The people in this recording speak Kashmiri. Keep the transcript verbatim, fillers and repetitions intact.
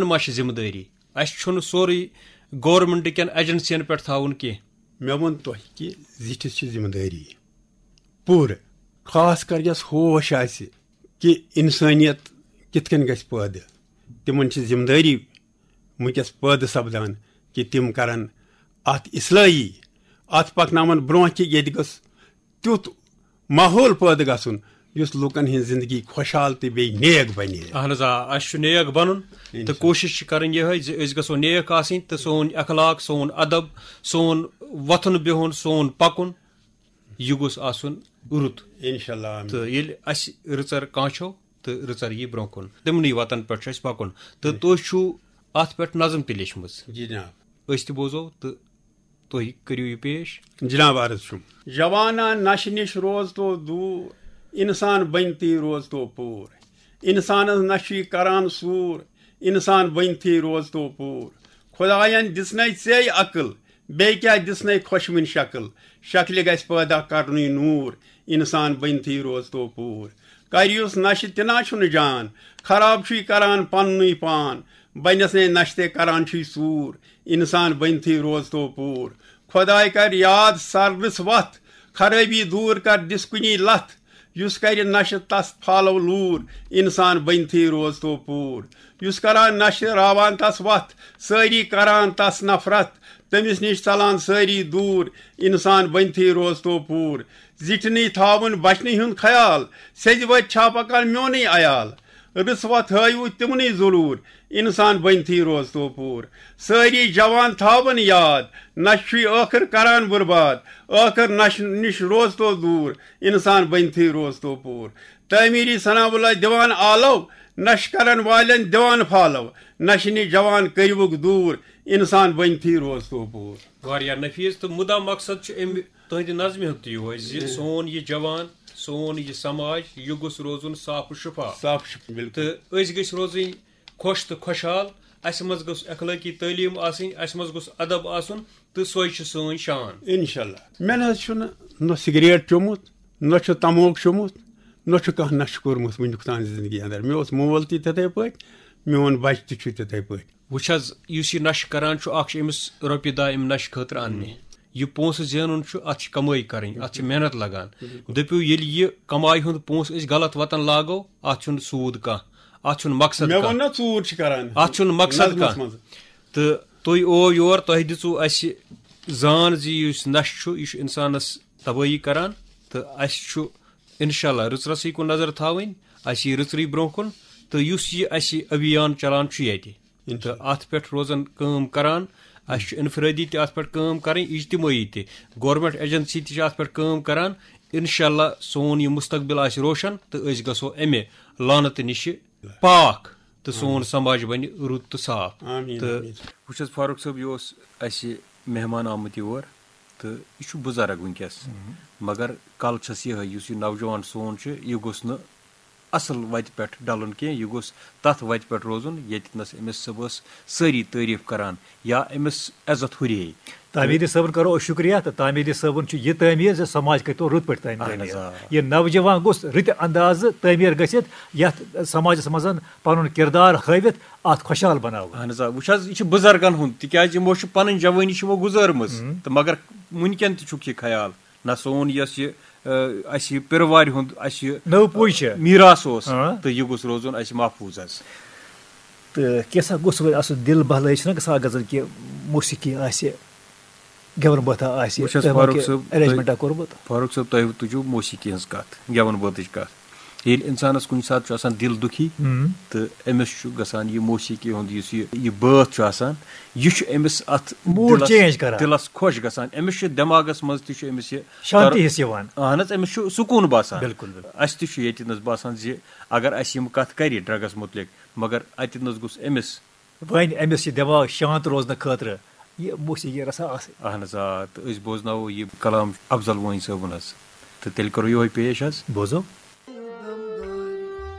ما چھِ ذمہٕ دٲری؟ اَسہِ چھُنہٕ سورُے گورنمنٹ کٮ۪ن ایجنسین پٮ۪ٹھ تھاوُن کینٛہہ۔ مےٚ ووٚن تۄہہِ کہِ زِٹھِس چھِ ذمہٕ دٲری پوٗرٕ، خاص کر یَس ہوش آسہِ کہِ اِنسٲنیت کِتھ کٔنۍ گژھِ پٲدٕ۔ تِمن چھِ ذمہٕ دٲری وٕنکیٚس پٲدٕ سپدان کہِ تِم کرن اتھ اصلٲحی، اتھ پکناون برونٛہہ کہِ ییٚتہِ گٔژھ تیُتھ ماحول پٲدٕ گژھُن یُس لوٗکن ہٕنٛز زندگی خۄشحال تہٕ بیٚیہِ نیک بنہِ۔ اہن حظ، آ، اسہِ چھُ نیک بنُن تہٕ انشاءاللہ۔ کوٗشش چھِ کرٕنۍ یِہے زِ أسۍ گژھو نیک آسٕنۍ تہٕ سون اخلاق، سون ادب، سون وۄتھُن بِہُن، سون پکُن، یہِ گوٚژھ آسُن رُت۔ انشاءاللہ، آمین۔ تہٕ ییٚلہِ اسہِ رٕژر کانٛہہ چھو تہٕ رٕژر یی برونٛہہ کُن، تِمنٕے وتن پٮ۪ٹھ چھُ اسہِ پکُن۔ تہٕ تُہۍ چھُو اتھ پٮ۪ٹھ نظم تہِ لیچھمٕژ۔ جی جناب۔ أسۍ تہِ بوزو تہٕ تُہۍ کٔرِو یہِ پیش۔ جناب عرض چھُم۔ جوانا نشہِ نِش روز تو دوٗر، انسان بنتھٕے روز تو پوٗر۔ انسانس نشہِ چھُے کران سوٗر، انسان بنتھٕے روز تو پوٗر۔ خداین دِژنے ژے عقل، بیٚیہِ کیٛاہ دِژنے خۄشوٕنۍ شکل؟ شکلہِ گژھِ پٲدٕ کرنُے نوٗر، انسان بنتھٕے روز تو پوٗر۔ کر یُس نشہِ تہِ نا چھُنہٕ جان، خراب چھُے کران پننُے پان، بنس نے نشہِ تہِ کران چھُے ژوٗر، انسان بنتھٕے روز تو پوٗر۔ خداے کر یاد سر رٕژ وتھ، خرٲبی دوٗر کر دِس کُنی لتھ۔ یُس کرِ نشہِ تس پھالو لوٗر، انسان بنتھٕے روز تو پوٗر۔ یُس کران نشہِ راوان تس وتھ، سٲری کران تس نفرت، تٔمِس نِش ژلان سٲری دوٗر، انسان بنتھٕے روز تو پوٗر۔ زِٹھنٕے تھاوُن بچنہٕ ہُنٛد خیال، سیٚزِ وتہِ چھا پکان میونٕے عیال؟ رٕژ وتھ ہٲیوٕ تِمنٕے ضروٗر، انسان بنتھٕے روز تو پوٗر۔ سٲری جوان تھاوُن یاد، نشہِ چھُے ٲخٕر کران برباد، ٲخٕر نشہِ نِش روز تو دوٗر، انسان بنتھٕے روز تو پوٗر۔ تعمیٖری ثناء اللہ دِوان آلو، نشہِ کرن والٮ۪ن دِوان پھالو، نشہِ نِش جوان کٔرِوُکھ دوٗر، انسان بنتھٕے روز تو پوٗر۔ واریاہ نفیٖس تہٕ مُدا مقصد چھُ اَمہِ تُہنٛدِ نظمہِ ہُنٛد تہِ یِہوے زِ سون یہِ جوان، سون یہِ سماج، یہِ گوٚژھ روزُن صاف و شفاف۔ صاف شفاف، بِلکُل۔ تہٕ أسۍ گٔژھۍ روزٕنۍ خۄش تہٕ خۄشحال۔ اسہِ منٛز گوٚژھ اخلٲقی تعلیٖم آسٕنۍ، اسہِ منٛز گوٚژھ ادب آسُن، تہٕ سۄے چھِ سٲنۍ شان۔ انشاءاللہ۔ مےٚ نہ حظ چھُنہٕ نہ سگریٹ چوٚمُت، نہ چھُ تموک چوٚمُت، نہ چھُ کانٛہہ نشہٕ کوٚرمُت وٕنیُک تام زندگی اندر۔ مےٚ اوس مول تہِ تِتھے پٲٹھۍ، میون بچہِ تہِ چھُ تِتھے پٲٹھۍ۔ وٕچھ حظ، یُس یہِ نشہٕ کران چھُ، اکھ چھِ أمِس رۄپیہِ دہ أمۍ نشہٕ خٲطرٕ اننہِ۔ یہِ پونٛسہٕ زینُن چھُ، اتھ چھِ کمٲے کرٕنۍ، اتھ چھِ محنت لگان۔ دٔپِو، ییٚلہِ یہِ کمایہِ ہُنٛد پونٛسہٕ أسۍ غلط وتن لاگو، اتھ چھُنہٕ سوٗد کانٛہہ، اتھ چھُنہٕ مقصد مےٚ کانٛہہ۔ ووٚن نا، ژوٗر چھِ کران۔ اتھ چھُنہٕ مقصد نظمس کانٛہہ۔ منٛز۔ تہٕ تُہۍ آو یور، تۄہہِ دِژوٕ اسہِ زان زِ یُس نشہٕ چھُ، یہِ چھُ انسانس تبٲہی کران، تہٕ اسہِ چھُ انشاءاللہ رٕژرسٕے کُن نظر تھاوٕنۍ، اسہِ یی رٕژرٕے برونٛہہ کُن، تہٕ یُس یہِ اسہِ ابھیان چلان چھُ ییٚتہِ، تہٕ اتھ پٮ۪ٹھ روزن کٲم کران۔ اسہِ چھُ انفرٲدی تہِ اتھ پٮ۪ٹھ کٲم کرٕنۍ، اجتمٲعی تہِ۔ گورنمنٹ ایجنسی تہِ چھِ اتھ پٮ۪ٹھ کٲم کران۔ انشاءاللہ سون یہِ مستقبل آسہِ روشن تہٕ أسۍ گژھو امہِ لعنتہٕ نِشہِ پاک تہٕ سون سماج بنہِ رُت تہٕ صاف۔ آمین، تہٕ آمین۔ وٕچھ حظ فاروق صٲب، یہِ اوس اسہِ مہمان آمُت یور تہٕ یہِ چھُ بُزرگ وٕنکیٚس، مگر کل چھس یِہے، یُس یہِ نوجوان سون چھُ، یہِ گوٚژھ نہٕ اصل وتہِ پٮ۪ٹھ ڈلُن کینٛہہ، یہِ گوٚژھ تتھ وتہِ پٮ۪ٹھ روزُن ییٚتنس أمِس صُبحس سٲری تعریٖف کران یا أمِس عزت ہُرے۔ تعمیٖری صٲبُن کرو أسۍ شُکریہ، تہٕ تعمیٖری صٲبُن چھُ یہِ تعمیٖر زِ سماج کٔرۍ تو رُت پٲٹھۍ تعمیٖر۔ اہن حظ، آ۔ یہِ نوجوان گوٚژھ رٕتہِ اندازٕ تعمیٖر گٔژھِتھ، یتھ سماجس منٛز پنُن کردار ہٲوِتھ اتھ خۄشحال بناوُن۔ اہن حظ، آ۔ وٕچھ حظ، یہِ چھُ بُزرگن ہُنٛد، تِکیازِ یِمو چھُ پنٕنۍ جوٲنی چھِ یِمو گُزٲرمٕژ، تہٕ مگر وٕنکٮ۪ن تہِ چھُکھ یہِ خیال۔ نہ سون یۄس یہِ، آ، اسہِ یہِ پیروارِ ہُنٛد اسہِ یہِ نٔو پُے چھِ۔ میراث اوس، تہٕ یہِ گوٚژھ روزُن اسہِ محفوٗظ حظ۔ تہٕ کینٛژھا گوٚژھ وۄنۍ آسُن دِل بہلٲیِش چھِنہ گژھان اگر زَن کہِ موسیقی آسہِ، گٮ۪وَن بٲتھا آسہِ، وٕچھ حظ تۄہہِ ما فاروق کینٛہہ صٲب، تُہۍ، arrangement کورمُت؟ فاروق صٲب، تۄہہِ تُجوٕ موسیقی ہٕنٛز کَتھ، گٮ۪وَن بٲتٕچ کَتھ۔ ییٚلہِ اِنسانَس کُنہِ ساتہٕ چھُ آسان دِل دُکھی، تہٕ أمِس چھُ گژھان یہِ موسیقی ہُنٛد یُس یہِ، یہِ بٲتھ چھُ آسان، یہِ چھُ أمِس اَتھ mood دِلَس، change کران۔ دِلَس خۄش گژھان۔ أمِس چھُ دٮ۪ماغَس منٛز تہِ چھُ أمِس یہِ شانتی کر-، ہِس یِوان۔ اہن حظ، أمِس چھُ سکوٗن باسان۔ بِلکُل، بِلکُل۔ اَسہِ تہِ چھُ ییٚتہِ نَس باسان زِ اگر اَسہِ یِم کَتھ کَرِ drugs مُتعلِق، مگر اَتہِ نَس گوٚژھ أمِس وۄنۍ أمِس یہِ دٮ۪ماغ شانت روزنہٕ خٲطرٕ یہِ موسیقی رژھا آسٕنۍ۔ اہن حظ، آ، تہٕ أسۍ بوزناوو یہِ کلام افضل وٲنۍ صٲبُن حظ۔ تہٕ تیٚلہِ کرو یِہوٚے پیش حظ۔ بوزو۔